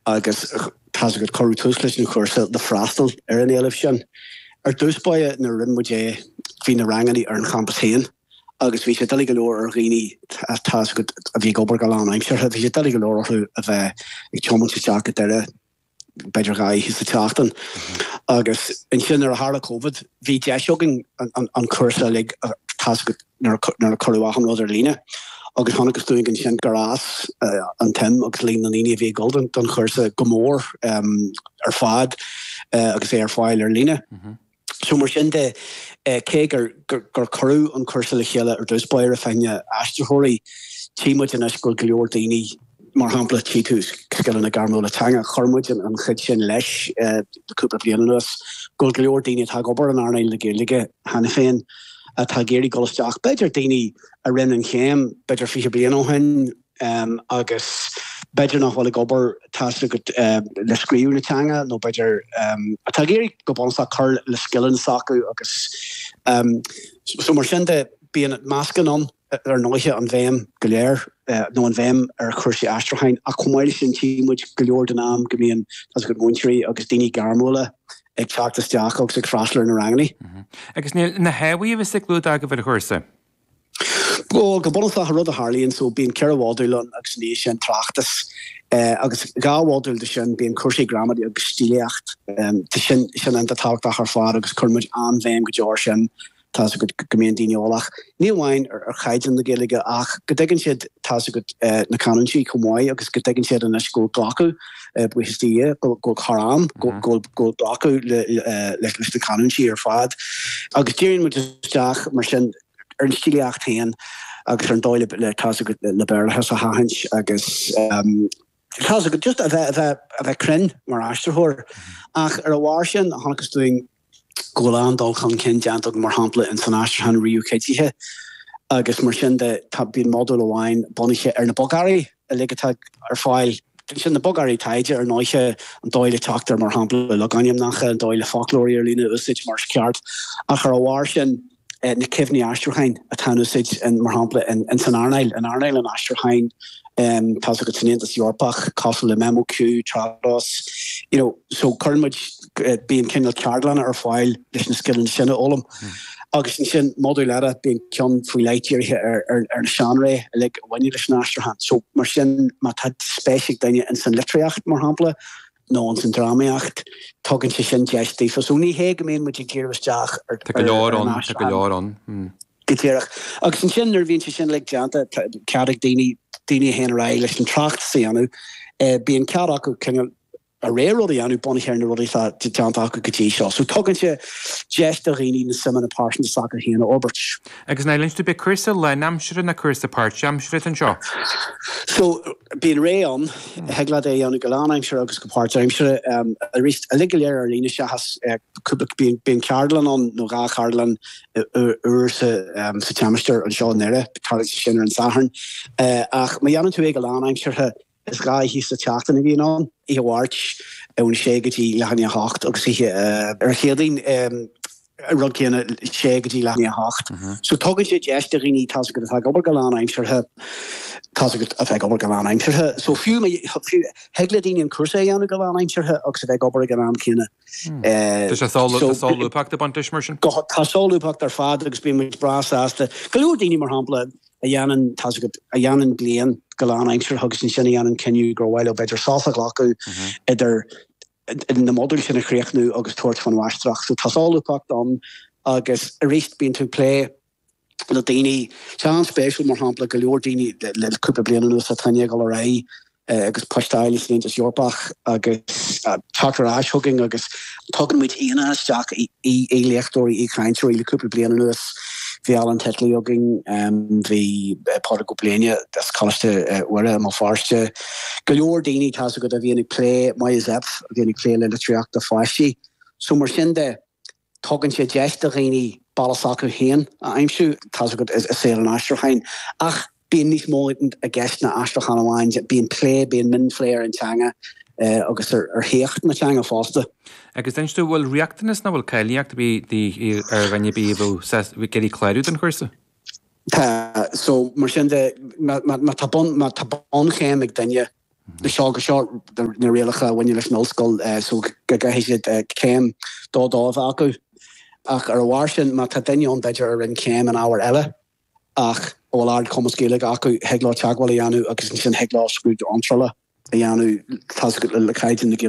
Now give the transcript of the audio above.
Agus tá's agat, cuireadh tús leis an chúrsa le freastal ar an éileamh sin. Ar dtús báire nuair a rinne muid é bhí na ranganna ar an champas féin agus bhí sé doiligh go leor ar dhaoine, tá's agat, a bhí ag obair go lánaimseartha, bhí sé doiligh go leor orthu a bheith ag tiomáint isteach go Doire b'fhéidir 2 oíche sa tseachtain. Agus ansin nuair a tharla Covid bhí deis againn an cúrsa uilig, tá's agat, nuair a cuireadh achan rud ar líne agus chonacthas dúinn ansin gur fhás an tsuim agus líon na ndaoine a bhí ag dul don chúrsa go mór ar fad agus é ar fáil ar líne. So mar sin de, cé gur cuireadh an cúrsa le chéile ar dtús báire fá choinne aistritheoirí, tchí muid anois go bhfuil go leor daoine, Mar shampla, tchí tú scileanna gairmiúla teanga, chuir muid an chuid sin leis le cúpla bliain anuas, go bhfuil go leor daoine atá ag obair in earnáil na Gaeilge cheana féin atá ag iarraidh dul isteach, b'fhéidir daoine a rinne an chéim b'fhéidir 20 bliain ó shin agus b'fhéidir nach bhfuil ag obair, tá's agat, le scríobh na teanga nó b'fhéidir atá ag iarraidh go bunúsach cur le scileanna s'acu agus so mar sin de bíonn meascán ann. ar ndóighe, an bhéim go léir, nó an bhéim ar chúrsaí aistriúcháin, ach chomh maith leis sin tchí muid go leor den am go mbíonn, tá's agat, múinteoirí agus daoine gairmiúla ag teacht isteach agus ag freastal ar na ranganna. Agus níl na hábhair a bheas ag lúdach agaibh ar an chúrsa? Bhuel, go bunúsach, an rud a tharlaíonn, so bíonn 4 mhodúl ann agus ina dhiaidh sin tráchtas, agus 2 mhodúl de sin bíonn cúrsaí gramadaí agus stílíocht. Tá sin, sin iontach tábhachtach ar fad agus cuireann muid an-bhéim go deo air sin. Tá's agat go mbíonn daoine eolach, ní amháin ar chaighdeán na Gaeilge ach go dtuigeann siad, tá's agat, na canúintí chomh maith agus go dtuigeann siad anois go bhfuil glacadh, buíochas do Dhia, go bhfuil thar am, go bhfuil glacadh leis na canúintí ar fad. Agus díríonn muid isteach mar sin ar an stílíocht féin agus ar an dóigh le, tá's agat, le Béarlachas a sheachaint agus tá's agat, just a bheith, a bheith, a bheith cruinn mar aistritheoir. Ach ar a bharr sin, chonacthas dúinn, go bhfuil an-dul chun cinn déanta againn, mar shampla, in san aistriúchán ríomhchuidithe agus mar sin de, tá, bíonn modúl amháin bunaithe ar na bogearraí uilig atá ar fáil. Sin na bogearraí taighde, ar ndóiche, an dóigh le teacht ar, mar shampla, logainmneacha, an dóigh le foclóirí ar líne a úsáid mar is ceart. Ach ar a bharr sin, na cuimhní aistriúcháin atá in úsáid, mar shampla, in san earnáil, in earnáil an aistriúcháin, tá's agat, san Aontas Eorpach, cosúil le MemoQ, Trados, you know, so cuireann muid, bíonn cineál ceardlanna ar fáil leis na scileanna sin a fhoghlaim. Agus ansin, modúl eile, bíonn ceann faoi leith dírithe ar ar na seánraí uilig a bhaineann leis an aistriúchán. So, mar sin, má tá spéis ag duine in san litríocht, mar shampla, nó ins an drámaíocht, tugann sé sin deis daofa. So ní hé go mbíonn muid ag díriú isteach ar Tá go leor ann, tá go leor ann. Go díreach. Agus ansin nuair a bhíonn sé sin uilig déanta, tá cead ag daoine, daoine a théann ar aghaidh leis an tráchtas a dhéanamh, bíonn cead acu cineál a rogha rud a dhéanamh bunaithe ar na rudaí atá déanta acu go dtí seo. So tugann sé deis do dhaoine na suimeanna pearsanta s'acu féin a fhorbairt. Agus an inis dúinn, ab é cúrsa lánaimseartha nó cúrsa páirtaimseartha atá anseo? So, bíonn rogha ann, thig leat é a dhéanamh go lánaimseartha agus go páirtaimseartha. Arís, uilig go léir ar líne seachas cúpla, bíonn ceardlann ann nó 2 cheardlann uair sa tseimeastar anseo i nDoire, tarlaíonn sé sin ar an Satharn. Ach má dhéanann tú é go lánaimseartha, Is 2 oíche sa tseachtain a bhíonn ann, oíche Mháirt ón 6 go dtí leath i ndiaidh a 8 agus oíche ar an Chéadaoin an rud céanna, 6 go dtí leath i ndiaidh a 8. So tugann sé deis do dhaoine, tá's agat, atá ag obair go lánaimseartha, tá's agat, a bheith ag obair go lánaimseartha. So fiú má, fiú, thig le daoine an cúrsa a dhéanamh go lánaimseartha agus a bheith ag obair ag an am céanna. Tá sé solúbthacht ag baint leis mar sin? Tá solúbthacht ar fad agus bíonn muid breá sásta. Go leor daoine, mar shampla, a dhéanann, tá's agat, a dhéanann bliain go lánaimseartha agus ansin a dhéanann cinneadh gur mhaith leo b'fhéidir sos a ghlacadh idir na modúil sin a chríochnú agus tabhairt faoin mháistreacht. So tá solúbthacht ann agus arís bíonn tú ag plé le daoine, tá an-spéisiúil mar shampla go leor daoine le cúpla bliain anuas atá i ndiaidh dul ar aghaidh agus poist a fháil san Aontas Eorpach agus teacht ar ais chugainn agus tugann muid aíonna isteach, aoi-léachtóirí, aoi-chainteoirí le cúpla bliain anuas. Bhí Alan Titley againn, bhí Pádraig Ó Bléine as Coláiste Mhuire i mBéal Feirste, go leor daoine, tá's agat, a bhíonn ag plé, Maya Zepf, a bhíonn ag plé le litríocht do pháistí. So mar sin de, Tugann sé deis do dhaoine bealach s'acu féin a aimsiú, tá's agat, i saol an aistriúcháin. Ach bíonn níos mó i gceist ná aistriúchán amháin, bíonn plé, bíonn mionphlé ar an teanga agus ar shaíocht na teanga fosta. Agus inis dúinn, bhfuil riachtanas nó bhfuil cáilíocht ar bith ar dhuine ar bith a bheadh ag iarraidh clárú don chúrsa? Tá. So, mar sin de, má tá bunchéim ag duine. Seo go seo na rialacha a bhaineann leis an ollscoil so go gcaithfidh siad céim 2 2 a bheith acu. Ach ar a bharr sin, má tá duine ann b'fhéidir a rinne céim in ábhar eile ach a bhfuil ardchumas Gaeilge acu, thig leo teagmháil a dhéanamh agus ansin thig leo scrúdú iontrála a dhéanamh le caighdeán na Gaeilge.